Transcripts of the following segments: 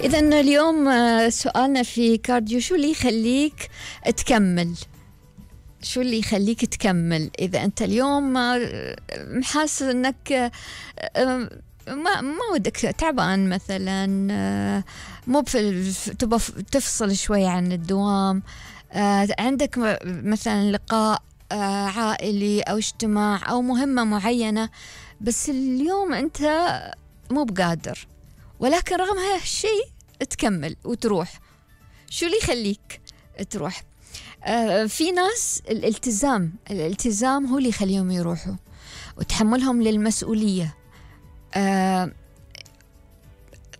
إذن اليوم سؤالنا في كارديو، شو اللي يخليك تكمل؟ شو اللي يخليك تكمل إذا أنت اليوم محاسس أنك ما ودك، تعبان مثلا، مو تبغى تفصل شوي عن الدوام، عندك مثلا لقاء عائلي أو اجتماع أو مهمة معينة، بس اليوم أنت مو بقادر، ولكن رغم هالشيء تكمل وتروح. شو اللي يخليك تروح؟ في ناس الالتزام هو اللي يخليهم يروحوا، وتحملهم للمسؤولية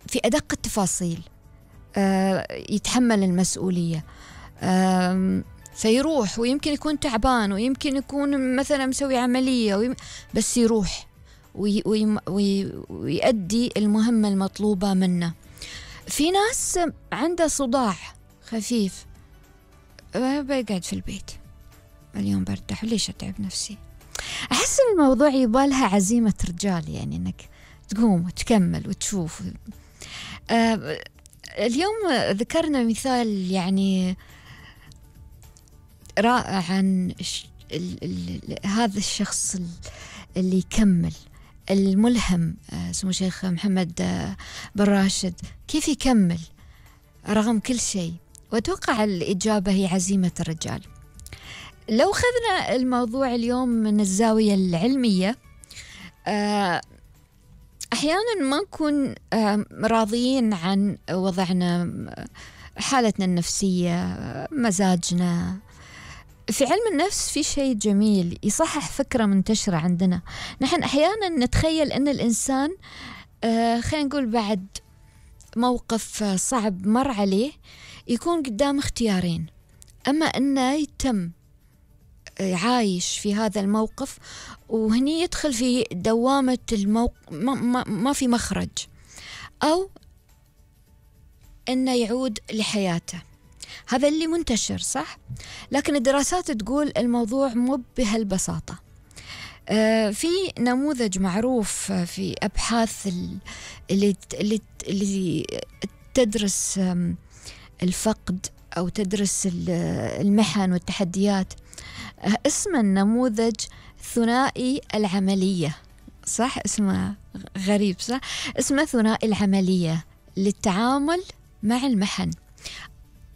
في أدق التفاصيل، يتحمل المسؤولية فيروح، ويمكن يكون تعبان، ويمكن يكون مثلا مسوي عملية، بس يروح ويؤدي المهمة المطلوبة منه. في ناس عنده صداع خفيف، بيقعد في البيت، اليوم برتاح، ليش أتعب نفسي؟ أحس الموضوع يبالها عزيمة رجال، يعني إنك تقوم وتكمل وتشوف. اليوم ذكرنا مثال يعني رائع عن هذا الشخص اللي يكمل، الملهم، اسمه شيخ محمد بن راشد، كيف يكمل رغم كل شيء. وأتوقع الإجابة هي عزيمة الرجال. لو خذنا الموضوع اليوم من الزاوية العلمية، أحيانا ما نكون راضيين عن وضعنا، حالتنا النفسية، مزاجنا. في علم النفس في شيء جميل يصحح فكرة منتشرة عندنا. نحن أحيانا نتخيل أن الإنسان خلينا نقول بعد موقف صعب مر عليه يكون قدام اختيارين: أما أنه يتم عايش في هذا الموقف وهني يدخل في دوامة ما في مخرج، أو أنه يعود لحياته. هذا اللي منتشر، صح؟ لكن الدراسات تقول الموضوع مو بهالبساطة. في نموذج معروف في أبحاث اللي تدرس الفقد أو تدرس المحن والتحديات، اسمه النموذج ثنائي العملية، صح؟ اسمه غريب، صح؟ اسمه ثنائي العملية للتعامل مع المحن،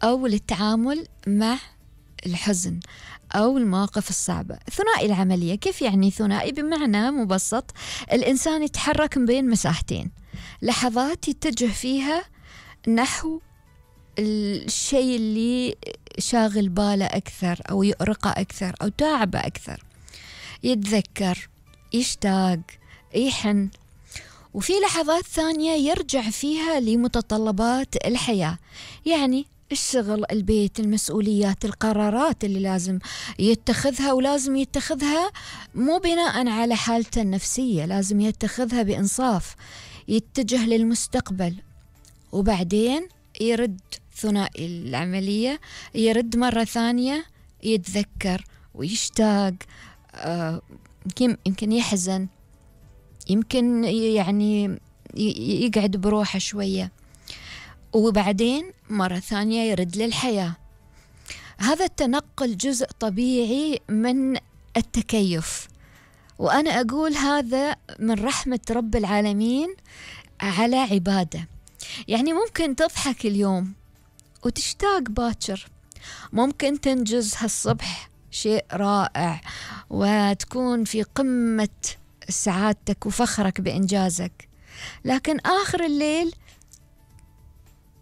أو للتعامل مع الحزن أو المواقف الصعبة. ثنائي العملية كيف يعني ثنائي؟ بمعنى مبسط، الإنسان يتحرك بين مساحتين، لحظات يتجه فيها نحو الشيء اللي شاغل باله أكثر أو يؤرقه أكثر أو تعبه أكثر، يتذكر، يشتاق، يحن. وفي لحظات ثانية يرجع فيها لمتطلبات الحياة، يعني الشغل، البيت، المسؤوليات، القرارات اللي لازم يتخذها، ولازم يتخذها مو بناء على حالته النفسية، لازم يتخذها بإنصاف، يتجه للمستقبل. وبعدين يرد ثنائي العملية، يرد مرة ثانية، يتذكر ويشتاق، يمكن يحزن، يمكن يعني يقعد بروحه شوية، وبعدين مرة ثانية يرد للحياة. هذا التنقل جزء طبيعي من التكيف، وأنا أقول هذا من رحمة رب العالمين على عباده. يعني ممكن تضحك اليوم وتشتاق باكر، ممكن تنجز هالصبح شيء رائع وتكون في قمة سعادتك وفخرك بإنجازك، لكن آخر الليل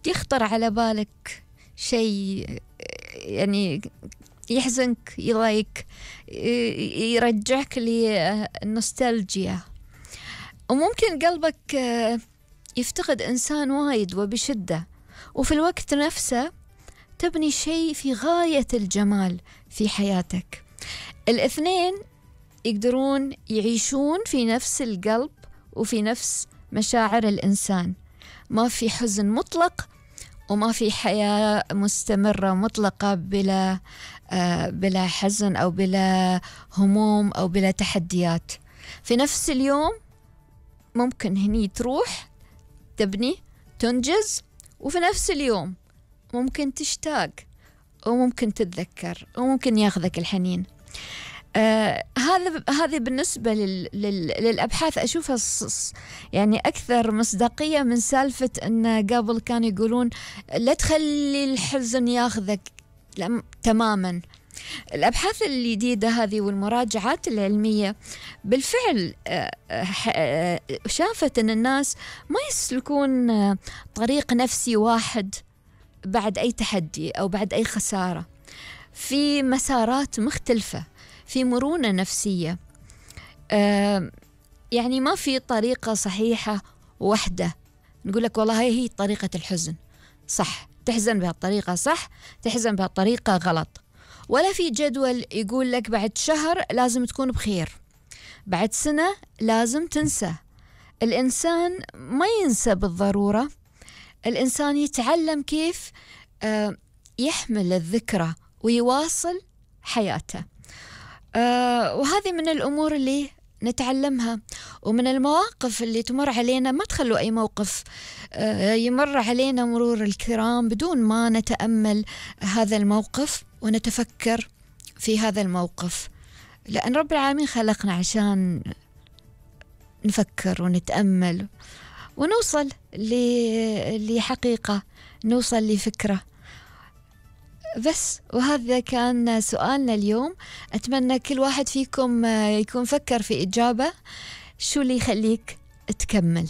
يخطر على بالك شيء يعني يحزنك، يضايق، يرجعك للنوستالجيا، وممكن قلبك يفتقد إنسان وايد وبشدة، وفي الوقت نفسه تبني شيء في غاية الجمال في حياتك. الاثنين يقدرون يعيشون في نفس القلب وفي نفس مشاعر الإنسان، ما في حزن مطلق وما في حياة مستمرة مطلقة بلا حزن أو بلا هموم أو بلا تحديات. في نفس اليوم ممكن هني تروح تبني، تنجز، وفي نفس اليوم ممكن تشتاق وممكن تتذكر وممكن ياخذك الحنين. هذه بالنسبة للأبحاث أشوفها يعني أكثر مصداقية من سالفة أن قبل كانوا يقولون لا تخلي الحزن ياخذك. تماما. الأبحاث الجديدة هذه والمراجعات العلمية بالفعل شافت أن الناس ما يسلكون طريق نفسي واحد بعد أي تحدي أو بعد أي خسارة، في مسارات مختلفة، في مرونة نفسية. يعني ما في طريقة صحيحة واحدة نقول لك والله هي طريقة الحزن صح، تحزن بهالطريقة صح، تحزن بهالطريقة غلط. ولا في جدول يقول لك بعد شهر لازم تكون بخير، بعد سنة لازم تنسى. الإنسان ما ينسى بالضرورة، الإنسان يتعلم كيف يحمل الذكرى ويواصل حياته. وهذه من الأمور اللي نتعلمها، ومن المواقف اللي تمر علينا. ما تخلوا أي موقف يمر علينا مرور الكرام بدون ما نتأمل هذا الموقف ونتفكر في هذا الموقف، لأن رب العالمين خلقنا عشان نفكر ونتأمل ونوصل لحقيقة، نوصل لفكرة بس. وهذا كان سؤالنا اليوم. أتمنى كل واحد فيكم يكون فكر في إجابة شو اللي يخليك تكمل.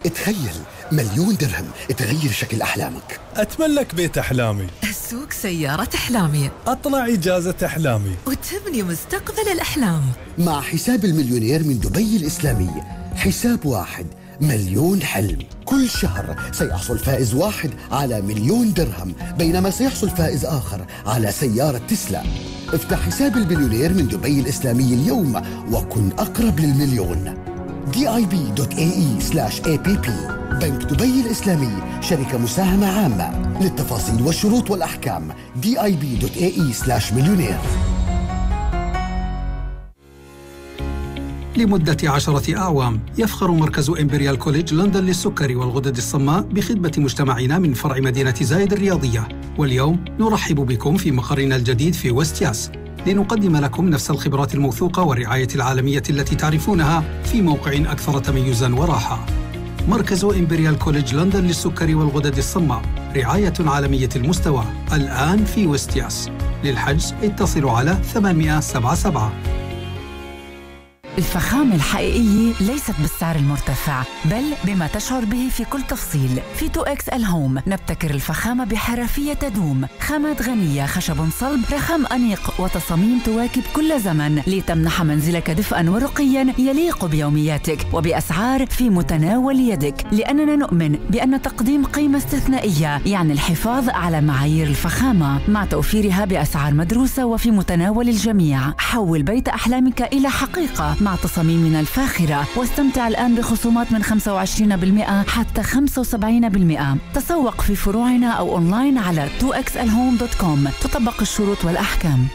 تخيل 1,000,000 درهم تغير شكل أحلامك. أتملك بيت أحلامي، أسوق سيارة أحلامي، أطلع إجازة أحلامي، وتبني مستقبل الأحلام. مع حساب المليونير من دبي الإسلامي، حساب واحد 1,000,000 حلم. كل شهر سيحصل فائز واحد على 1,000,000 درهم، بينما سيحصل فائز آخر على سيارة تسلا. افتح حساب المليونير من دبي الإسلامي اليوم وكن أقرب للمليون. dib.ae/app. بنك دبي الإسلامي، شركة مساهمة عامة. للتفاصيل والشروط والأحكام dib.ae/مليونير. لمدة 10 أعوام يفخر مركز إمبريال كوليدج لندن للسكري والغدد الصماء بخدمة مجتمعنا من فرع مدينة زايد الرياضية. واليوم نرحب بكم في مقرنا الجديد في ويست ياس لنقدم لكم نفس الخبرات الموثوقة والرعاية العالمية التي تعرفونها في موقع أكثر تميزاً وراحة. مركز إمبريال كوليدج لندن للسكري والغدد الصماء، رعاية عالمية المستوى، الآن في ويست ياس. للحجز اتصلوا على 877. الفخامة الحقيقية ليست بالسعر المرتفع، بل بما تشعر به في كل تفصيل. في 2X الهوم نبتكر الفخامة بحرفية تدوم، خامات غنية، خشب صلب، رخام أنيق، وتصاميم تواكب كل زمن لتمنح منزلك دفئاً ورقياً يليق بيومياتك وبأسعار في متناول يدك، لأننا نؤمن بأن تقديم قيمة استثنائية يعني الحفاظ على معايير الفخامة مع توفيرها بأسعار مدروسة وفي متناول الجميع. حول بيت أحلامك إلى حقيقة مع تصاميمنا الفاخرة، واستمتع الآن بخصومات من 25% حتى 75%. تسوق في فروعنا أو أونلاين على 2xlhome.com. تطبق الشروط والأحكام.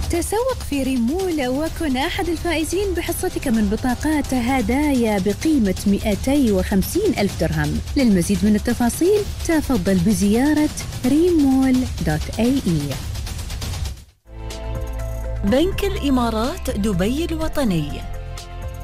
تسوق في ريمول وكن أحد الفائزين بحصتك من بطاقات هدايا بقيمة 250,000 درهم. للمزيد من التفاصيل تفضل بزيارة remol.ae. بنك الإمارات دبي الوطني